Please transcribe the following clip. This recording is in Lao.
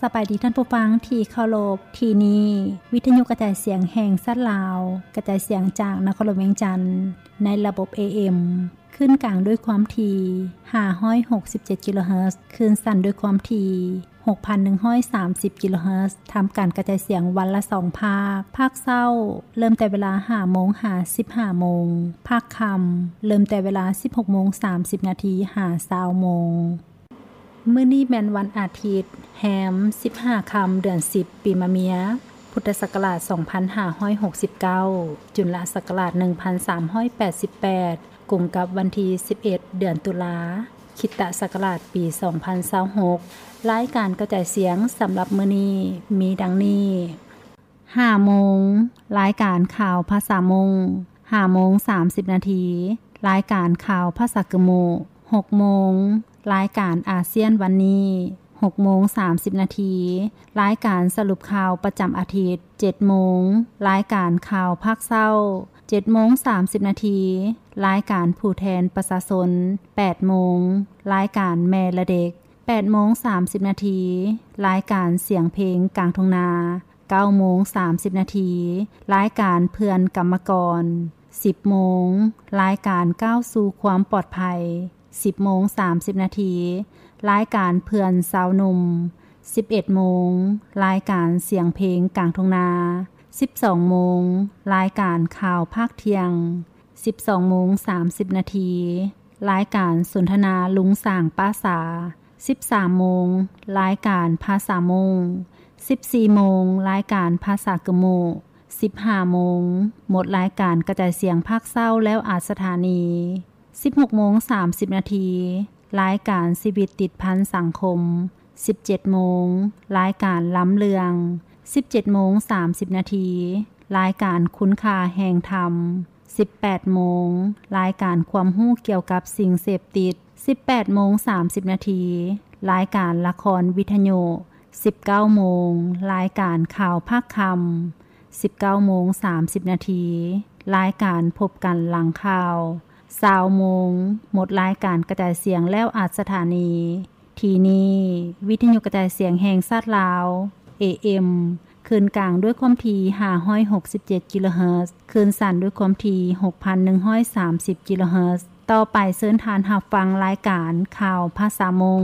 ສະບາຍດີທ່ານຜູ້ຟັງທີ່ເຄົາລົບ, ທີ່ນີ້ວິທະຍຸກະຈາຍສຽງແຫ່ງຊາດລາວ, ກະຈາຍສຽງຈາກນະຄອນຫຼວງວຽງຈັນ ໃນລະບົບ ເອເອັມ ຄື້ນກາງດ້ວຍຄວາມຖີ່ ຫ້າຮ້ອຍຫົກສິບເຈັດ ກິໂລເຮີດ, ຄື້ນສັ້ນດ້ວຍຄວາມຖີ່ ຫົກພັນໜຶ່ງຮ້ອຍສາມສິບ ກິໂລເຮີດ, ທຳການກະຈາຍສຽງວັນລະສອງພາກ, ພາກເຊົ້າເລີ່ມແຕ່ເວລາ ຫ້າໂມງ ຫາ ສິບຫ້າໂມງ, ພາກຄ່ຳເລີ່ມແຕ່ເວລາ ສິບຫົກໂມງ ສາມສິບນາທີ ຫາ ຊາວໂມງ. ມື້ນີ້ແມ່ນວັນອາທິດ ແຮມ ສິບຫ້າຄ່ຳ ເດືອນສິບ ປີມະເມຍ ພຸດທະສັກກະລາດ ສອງພັນຫ້າຮ້ອຍຫົກສິບເກົ້າ, ຈຸນລະສັກກະລາດ ໜຶ່ງພັນສາມຮ້ອຍແປດສິບແປດ, ກົງກັບວັນທີ ສິບເອັດ ເດືອນຕຸລາ, ຄຣິສຕະສັກກະລາດ ປີ ສອງພັນຊາວຫົກ. ລາຍການກະຈາຍສຽງສຳລັບມື້ນີ້ມີດັ່ງນີ້: ຫ້າໂມງ ລາຍການຂ່າວພາສາມົ້ງ, ຫ້າໂມງ ສາມສິບນາທີ ລາຍການຂ່າວພາສາກຶມມຸ, ຫົກໂມງ ລາຍການອາຊຽນວັນນີ້, ຫົກໂມງ ສາມສິບນາທີ ລາຍການສະຫຼຸບຂ່າວປະຈຳອາທິດ, ເຈັດໂມງ ລາຍການຂ່າວພາກເຊົ້າ, ເຈັດໂມງ ສາມສິບນາທີ ລາຍການຜູ້ແທນປະຊາຊົນ, ແປດໂມງ ລາຍການແມ່ແລະເດັກ, ແປດໂມງ ສາມສິບນາທີ ລາຍການສຽງເພງກາງທົ່ງນາ, ເກົ້າໂມງ ສາມສິບນາທີ ລາຍການເພື່ອນກຳມະກອນ, ສິບໂມງ ລາຍການກ້າວສູ່ຄວາມປອດໄພ, ສິບໂມງ ສາມສິບນາທີ ລາຍການເພື່ອນຊາວໜຸ່ມ, ສິບເອັດໂມງ ລາຍການສຽງເພງກາງທົ່ງນາ, ສິບສອງໂມງ ລາຍການຂ່າວພາກທ່ຽງ, ສິບສອງໂມງ ສາມສິບນາທີ ລາຍການສົນທະນາລຸງສາງປ້າສາ, ສິບສາມໂມງ ລາຍການພາສາມົ້ງ, ສິບສີ່ໂມງ ລາຍການພາສາກຶມມຸ, ສິບຫ້າໂມງ ໝົດລາຍການກະຈາຍສຽງພາກເຊົ້າແລ້ວອັດສະຖານີ, ສິບຫົກໂມງ ສາມສິບນາທີ ລາຍການຊີວິດຕິດພັນສັງຄົມ, ສິບເຈັດໂມງ ລາຍການລຳເລື່ອງ, ສິບເຈັດໂມງ ສາມສິບນາທີ ລາຍການຄຸນຄ່າແຫ່ງທຳ, ສິບແປດໂມງ ລາຍການຄວາມຮູ້ກ່ຽວກັບສິ່ງເສບຕິດ, ສິບແປດໂມງ ສາມສິບນາທີ ລາຍການລະຄອນວິທະຍຸ, ສິບເກົ້າໂມງ ລາຍການຂ່າວພາກຄ່ຳ, ສິບເກົ້າໂມງ ສາມສິບນາທີ ລາຍການພົບກັນຫຼັງຂ່າວ, ຊາວໂມງ ໝົດລາຍການກະຈາຍສຽງແລ້ວອັດສະຖານີ. ທີ່ນີ້ ວິທະຍຸກະຈາຍສຽງແຫ່ງຊາດລາວ ເອເອັມ ຄື້ນກາງດ້ວຍຄວາມຖີ່ ຫ້າຮ້ອຍຫົກສິບເຈັດ ກິໂລເຮີດ, ຄື້ນສັ້ນດ້ວຍຄວາມຖີ່ ຫົກພັນໜຶ່ງຮ້ອຍສາມສິບ ກິໂລເຮີດ. ຕໍ່ໄປເຊີນທ່ານຮັບຟັງລາຍການຂ່າວພາສາມົ້ງ.